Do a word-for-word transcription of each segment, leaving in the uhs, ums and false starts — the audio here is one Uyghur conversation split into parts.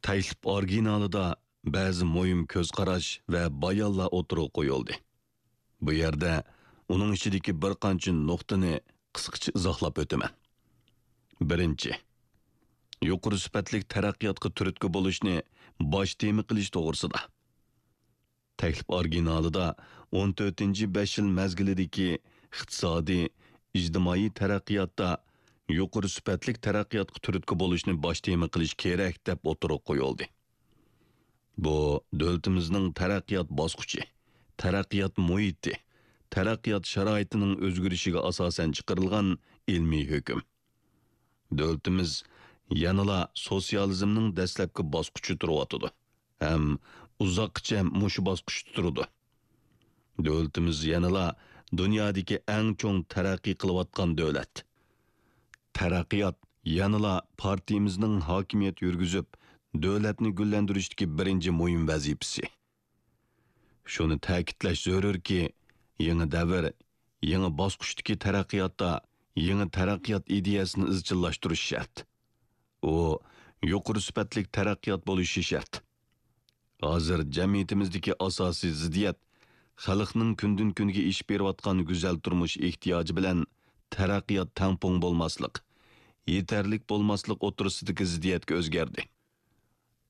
تەكلىپ ئورىگىنالىدا بەزى مۇھىم كۆز قاراش ۋە بايانلار ئوتتۇرىغا قويۇلدى. بۇ يەردە ئۇنىڭ ئىچىدىكى بىر قانچە نۇقتىنى قىسقىچە ئىزاھلاپ ئۆتىمەن. بىرىنچى، يۇقىرى سۈپەتلىك تەرەققىياتقا تۈرتكە بولۇشنى باش تېما قىلىش توغرىسىدا. تەكلىپ ئورىگىنالىدا ئون تۆتىنچى بەش يىل مەزگىلىدىكى ئىقتىسادىي، ئىجتىمائىي تەرەققىياتتا يۇقىرى سۈپەتلىك تەرەققىياتقا تۈرتكە بولۇشنى باش تېما قىلىش كېرەك، دەپ ئوتتۇرىغا قويۇلدى. بۇ دۆلىتىمىزنىڭ تەرەققىيات باسقۇچى، تەرەققىيات مۇھىتى، تەرەققىيات شارائىتىنىڭ ئۆزگىرىشىگە ئاساسەن چىقىرىلغان ئىلمىي ھۆكۈم. دۆلىتىمىز يەنىلا سوتسىيالىزمنىڭ دەسلەپكى باسقۇچىدا تۇرۇۋاتىدۇ ھەم ئۇزاققىچە مۇشۇ باسقۇچتا تۇرىدۇ. دۆلىتىمىز يەنىلا دۇنيادىكى ئەڭ چوڭ تەرەققىي قىلىۋاتقان دۆلەت. تەرەققىيات يەنىلا پارتىيىمىزنىڭ ھاكىمىيەت يۈرگۈزۈپ، دۆلەتنى گۈللەندۈرۈشتىكى بىرىنچى مۇھىم ۋەزىپىسى. شۇنى تەكىتلەش زۆرۈركى، يېڭى دەۋر، يېڭى باسقۇچتىكى تەرەققىياتتا يېڭى تەرەققىيات ئىدىيەسىنى ئىزچىللاشتۇرۇش شەرت. ئۇ يۇقىرى سۈپەتلىك تەرەققىيات بولۇشى شەرت. ھازىر جەمئىيىتىمىزدىكى ئاساسىي زىددىيەت خەلقنىڭ كۈندىن-كۈنگە ئېشىپ بېرىۋاتقان گۈزەل تۇرمۇش ئېھتىياجى بىلەن تەرەققىيات تەڭپۇڭ بولماسلىق، يېتەرلىك بولماسلىق ئوتتۇرىسىدىكى زىددىيەتكە ئۆزگەردى.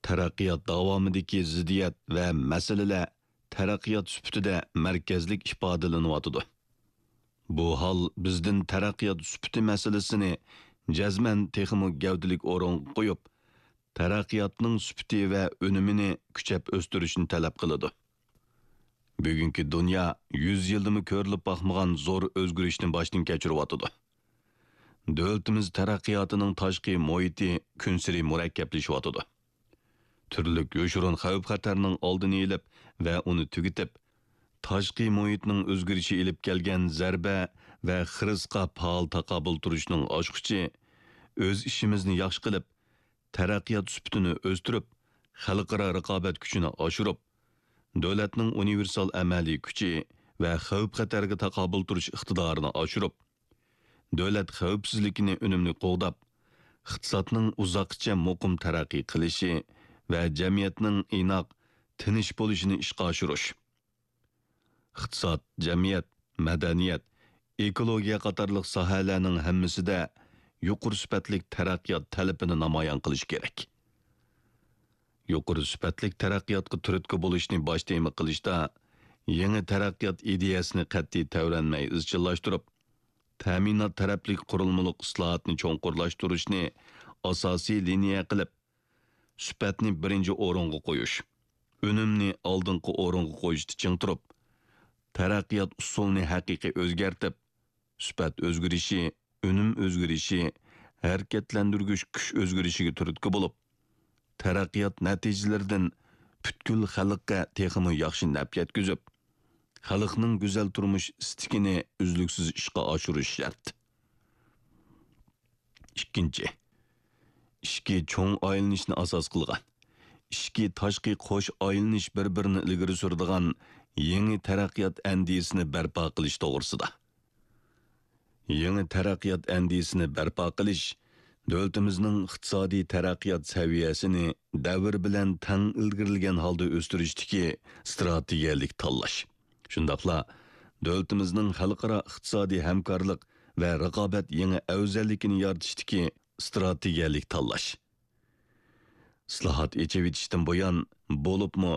تەرەققىيات داۋامىدىكى زىددىيەت ۋە مەسىلىلەر تەرەققىيات سۈپىتىدە مەركەزلىك ئىپادىلىنىۋاتىدۇ. بۇ ھال بىزدىن تەرەققىيات سۈپىتى مەسىلىسىنى جەزمەن تېخىمۇ گەۋدىلىك ئورۇنغا قويۇپ، تەرەققىياتنىڭ سۈپىتى ۋە ئۈنۈمىنى كۈچەپ ئۆستۈرۈشنى تەلەپ قىلىدۇ. بۈگۈنكى دۇنيا يۈز يىلدىمۇ كۆرۈلۈپ باقمىغان زور ئۆزگىرىشنى باشتىن كەچۈرۈۋاتىدۇ. دۆلىتىمىز تەرەققىياتىنىڭ تاشقى مۇھىتى كۈنسېرى مۇرەككەپلىشىۋاتىدۇ. تۈرلۈك يوشۇرۇن خەۋپ-خەتەرنىڭ ئالدىنى ئېلىپ ۋە ئۇنى تۈگىتىپ، تاشقى مۇھىتنىڭ ئۆزگىرىشى ئېلىپ كەلگەن زەربە ۋە خىرىسقا پائال تاقابىل تۇرۇشنىڭ ئاچقۇچى، ئۆز ئىشىمىزنى ياخشى قىلىپ، تەرەققىيات سۈپىتىنى ئۆستۈرۈپ، خەلقئارا رىقابەت كۈچىنى ئاشۇرۇپ، دۆلەتنىڭ ئۇنىۋېرسال ئەمەلىي كۈچى ۋە خەۋپ-خەتەرگە تاقابىل تۇرۇش ئىقتىدارىنى ئاشۇرۇپ، دۆلەت خەۋپسىزلىكىنى ئۈنۈملۈك قوغداپ، ئىقتىسادنىڭ ئۇزاققىچە مۇقىم تەرەققىي قىلىشى ۋە جەمئىيەتنىڭ ئىناق، تىنچ بولۇشىنى ئىشقا ئاشۇرۇش. ئىقتىساد، جەمئىيەت، مەدەنىيەت، ئېكولوگىيە قاتارلىق ساھەلەرنىڭ ھەممىسىدە يۇقىرى سۈپەتلىك تەرەققىيات تەلىپىنى نامايان قىلىش كېرەك. يۇقىرى سۈپەتلىك تەرەققىياتقا تۈرتكە بولۇشنى باش تېما قىلىشتا، يېڭى تەرەققىيات ئىدىيەسىنى قەتئىي تەۋرەنمەي ئىزچىللاشتۇرۇپ، تەمىنات تەرەپلىك قۇرۇلمىلىق ئىسلاھاتنى چوڭقۇرلاشتۇرۇشنى ئاساسىي لىنىيە قىلىپ، سۈپەتنى بىرىنچى ئورۇنغا قويۇش، ئۈنۈمنى ئالدىنقى ئورۇنغا قويۇشتا چىڭ تۇرۇپ، تەرەققىيات ئۇسۇلىنى ھەقىقىي ئۆزگەرتىپ، سۈپەت ئۆزگىرىشى، ئۈنۈم ئۆزگىرىشى، ھەرىكەتلەندۈرگۈچ كۈچ ئۆزگىرىشىگە تۈرتكە بولۇپ، تەرەققىيات نەتىجىلىرىدىن پۈتكۈل خەلققە تېخىمۇ ياخشى نەپ يەتكۈزۈپ، خەلقنىڭ گۈزەل تۇرمۇش ئىستىكىنى ئۈزلۈكسىز ئىشقا ئاشۇرۇش شەرت. ئىككىنچى، ئىچكى چوڭ ئايلىنىشنى ئاساس قىلغان، ئىچكى تاشقى قوش ئايلىنىش بىر-بىرىنى ئىلگىرى سۈرىدىغان يېڭى تەرەققىيات ئەندىزىسىنى بەرپا قىلىش توغرىسىدا. يېڭى تەرەققىيات ئەندىزىسىنى بەرپا قىلىش، دۆلىتىمىزنىڭ ئىقتىسادىي تەرەققىيات سەۋىيەسىنى دەۋر بىلەن تەڭ ئىلگىرىلىگەن ھالدا ئۆستۈرۈشتىكى ئىستراتېگىيەلىك تاللاش، شۇنداقلا دۆلىتىمىزنىڭ خەلقئارا ئىقتىسادىي ھەمكارلىق ۋە رىقابەت يېڭى ئەۋزەللىكىنى يارىتىشتىكى ئىستراتېگىيەلىك تاللاش. ئىسلاھات، ئېچىۋېتىشتىن بۇيان، بولۇپمۇ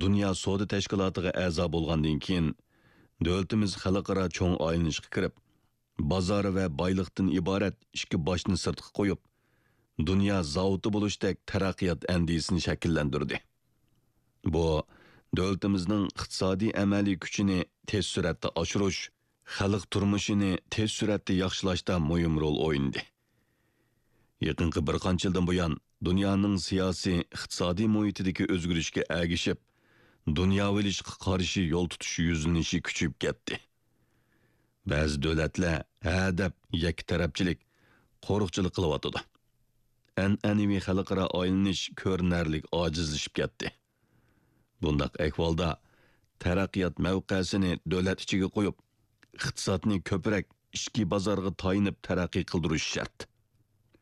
دۇنيا سودا تەشكىلاتىغا ئەزا بولغاندىن كېيىن، دۆلىتىمىز خەلقئارا چوڭ ئايلىنىشقا كىرىپ، بازار ۋە بايلىقتىن ئىبارەت ئىككى باشنى سىرتقا قويۇپ، دۇنيا زاۋۇتى بولۇشتەك تەرەققىيات ئەندىزىسىنى شەكىللەندۈردى. بۇ، دۆلىتىمىزنىڭ ئىقتىسادىي ئەمەلىي كۈچىنى تېز سۈرئەتتە ئاشۇرۇش، خەلق تۇرمۇشىنى تېز سۈرئەتتە ياخشىلاشتا مۇھىم رول ئوينىدى. يېقىنقى بىر قانچە يىلدىن بۇيان، دۇنيانىڭ سىياسىي، ئىقتىسادىي مۇھىتىدىكى ئۆزگىرىشكە ئەگىشىپ، دۇنياۋى ئېلىشقا قارشى يول تۇتۇش يۈزلىنىشى كۈچىيىپ كەتتى. بەزى دۆلەتلەر ھە دەپ يەككە تەرەپچىلىك، قورۇقچىلىق قىلىۋاتىدۇ. ئەنئەنىۋى خەلقئارا ئايلىنىش كۆرۈنەرلىك ئاجىزلىشىپ كەتتى. بۇنداق ئەھۋالدا تەرەققىيات مەۋقەسىنى دۆلەت ئىچىگە قويۇپ، ئىقتىسادنى كۆپرەك ئىچكى بازارغا تايىنىپ تەرەققىي قىلدۇرۇش شەرت.